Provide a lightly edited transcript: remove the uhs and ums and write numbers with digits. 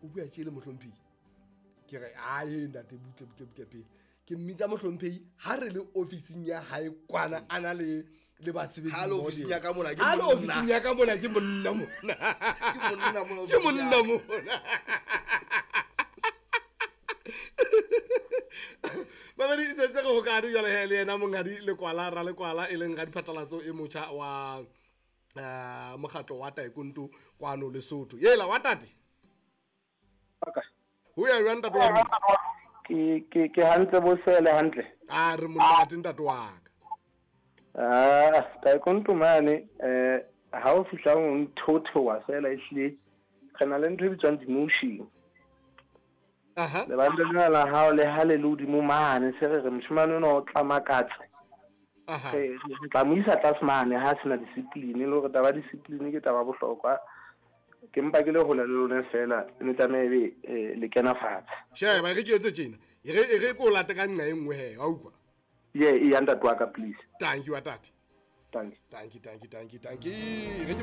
O bua tje le mohlomphehi. Ke re ae ntate butle butle butle pele. Ke mmitsa mohlomphehi ha re le ofising ya hae kwana a na le le basebetsi. Ha le ofising ya ka mona ke Ha le monna. ofising ya ka mona ke monna mona. Ke monna mona Ke ofising monna ya ka. mona. Mamedi e setse re hokane jwale he le yena monghadi Lekwala Ralekwala e leng radiphatlalatso e motjha wa mokgatlo wa taekwondo kwano Lesotho. Yela wa tate. Ho ya jwang ntate wa rona? Ke hantle bo sele hantle. A re monate ntate wa ka. Ah, taekwondo mane ha o fihla o nthothowa fela ehlile re na le ntho e bitswang demotion. Aha. Lebanta lena la hao le ha le le hodimo mane se re re moshemane ona o tla makatse. Aha. Re tla mo isa tlase mane ha sena discipline le hore taba ya discipline ke taba ya bohlokwa. Ke mpa ke le hole le lona fela ne tlameha ebe le kena fatshe. Sheba re ke etse tjena. E re ke o late ka nqa e nngwe he, wa utlwa? Ye, e ya ntate wa ka please. Thank you wa tate. Thank you. Thank you, thank you, thank you, thank you. Re ke